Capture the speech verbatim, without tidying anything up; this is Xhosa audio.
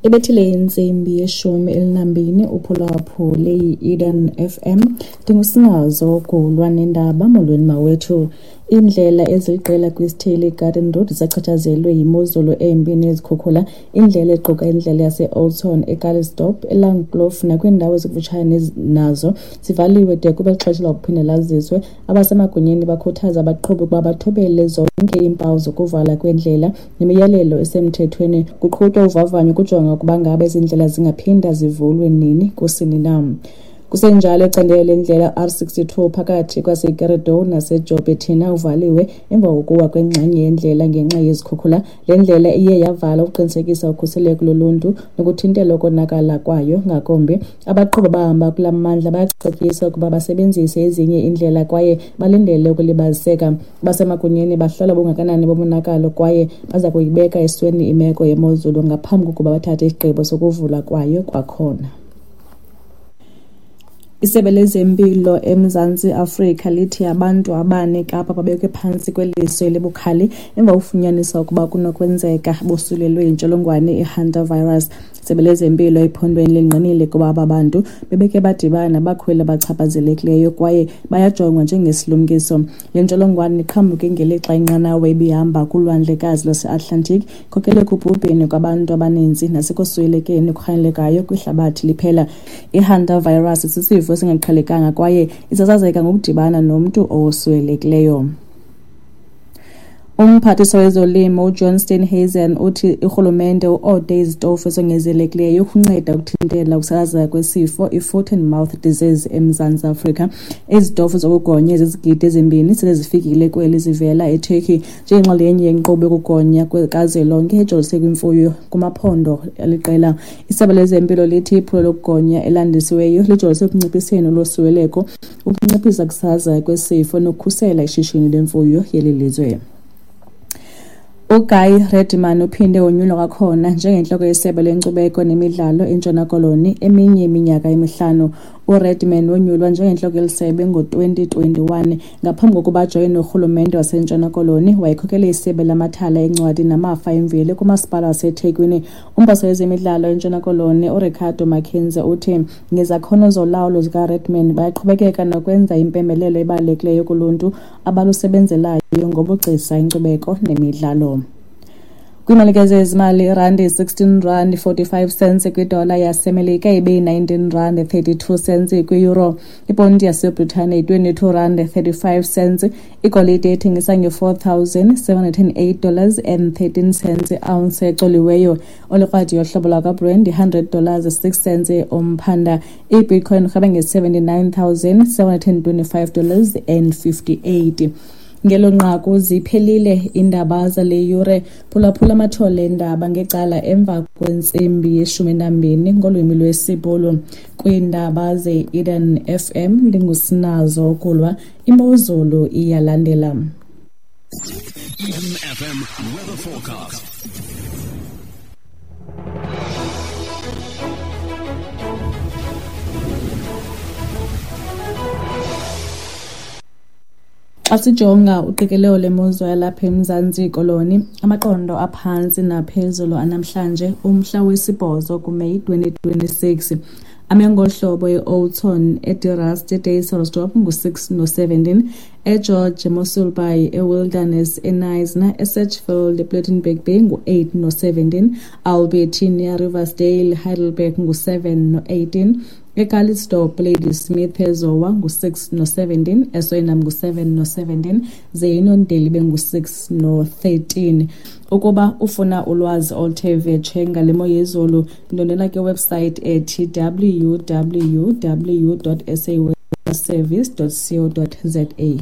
Ibethile intsimbi yeshumi elinambini uphulaphule i-Eden F M. Ndingusinazo Gulwa nendaba. Molweni mawethu. Iindlela eziliqela kwisithili Garden Road zichatshazelwe yimozulu embi nezikhukhula. Indlela equka indlela yase-Oudtshoorn, eCalitzdorp, eLangkloof nakwiindawo ezikufutshane nazo zivaliwe de kube xesha lokuphinda laziswe. Abasemagunyeni bakhuthaza abaqhubi ukuba bathobele zonke iimpawu zokuvala kwendlela nemiyalelo esemthethweni. Kuqhutywa uvavanyo ukujonga ukuba ngaba ezi ndlela zingaphinda zivulwe nini kusini na. Kusenjalo, icandelo lendlela R sixty-two phakathi kwaseKeredoe naseJouberton uvaliwe emva kokuwa kwengxenye yendlela ngenxa yezikhukhula. Le ndlela iye yavala ukuqinisekisa ukhuseleko loluntu nokuthintela ukonakala kwayo ngakumbi. Abaqhubi abahamba kula mmandla bayacetyiswa ukuba basebenzise ezinye iindlela kwaye balindele ukulibaziseka. Abasemagunyeni bahlola ubungakanani bomonakalo kwaye baza kuyibeka esweni imeko yemozulu ngaphambi kokuba bathathe isigqibo sokuvulwa kwayo kwakhona. Isebe lezempilo eMzantsi Afrika lithi abantu abane eKapa babekwe phantsi kweliso elibukhali emva kokufunyaniswa ukuba kunokwenzeka bosulelwe yintsholongwane i-hantavirus. Isebe lezempilo ephondweni lingqinile ukuba aba bantu bebeke badibana nabakhweli abachaphazelekileyo kwaye bayajongwa njengesilumkiso. Le ntsholongwane iqhamuke ngelixa inqanawa ibihamba kulwandlekazi lwaseAtlantic, ikhokele ekubhubheni kwabantu abaninzi nasekuswelekeni okurhanelekayo kwihlabathi liphela. I-hantavirus sisifo esingaqhelekanga kwaye isasazeka ngokudibana nomntu owoswelekileyo. Umphathiswa wezolimo uJohn Steenhuisen uthi urhulumente uode izitofu ezongezelekileyo ukunceda ukuthintela ukusasazeka kwesifo i-foot and mouth disease eMzantsi Afrika. Izitofu zokugonya ezizigidi ezimbini sele zifikile kweli zivela eTurkey njengenxalenye yenkqubo yokugonya kazwelonke ejolise kwimfuyo kumaphondo aliqela. Isebe lezempilo lithi iphulo lokugonya elandisiweyo lijolise ekunciphiseni ulosuleleko, ukunciphisa ukusasazeka kwesifo nokukhusela ishishini lemfuyo yeli lizwe. UGuy Redman uphinde wonyulwa kwakhona njengentloko yesebe lenkcubeko nemidlalo eNtshona Koloni eminye iminyaka emihlanu. URedman wonyulwa njengentloko yelisebe ngo-twenty twenty-one. Ngaphambi kokuba ajoyine urhulumente waseNtshona Koloni, wayekhokele isebe lamathala eencwadi namafa emveli kumasipala waseThekwini. Umphathiswa wezemidlalo eNtshona Koloni uRicardo Mackenzie uthi ngezakhono zolawulo zikaRedman bayaqhubekeka nokwenza impembelelo ebalulekileyo kuluntu abalusebenzelayo ngobugcisa, inkcubeko nemidlalo. Kwiimali zezimali, irandi sixteen rand forty-five cents kwidola yaseMelika ibe yi-nineteen rand thirty-two cents kwi-euro. Iponti yaseBritane yi-twenty-two rand thirty-five cents. Igolide ethengisa nge-four thousand seven hundred and eight dollars and thirteen cents i-ounce ecoliweyo. Olikrwadi yohlobo lwakwaBrent yi-hundred dollars six cents umphanda. I-Bitcoin irhweba nge-seventy-nine thousand seven hundred and twenty-five dollars and fifty-eight. Ngelo nqaku ziphelile iindaba zale yure. Phulaphula amathole eendaba ngecala emva kwentsimbi yeshumi nambini ngolwimi lwesiBhulu. Kwiindaba ze-Eden F M ndingusinazo Kulwa. Imozulu iyalandela. Eden F M weather forecast. Xa sijonga uqikelelo lemozulu yalapha eMzantsi Koloni, amaqondo aphantsi naphezulu anamhlanje umhla wesibhozo kuMeyi twenty twenty-six. Ame ngohlobo e-Oudtshoorn, eDe-Rust, eDysselsdorp ngu-six no-seventeen, eGeorge, eMossel Bay, eWilderness, eKnysna, eSedgefield, ePlettenberg Bay ngu-eight no-seventeen, Albertinia, Riversdale, Heidelberg ngu-seven no-eighteen, eCalitzdorp, Ladysmith, eZowa ngu-six no-seventeen, eSoinam ngu-seven no-seventeen, ze iNondeli bengu-six no-thirteen. Ukuba ufuna ulwazi oluthe vetshe ngale mo yezulu, ndondela ke website ethi w w w dot s a weather service dot co dot z a.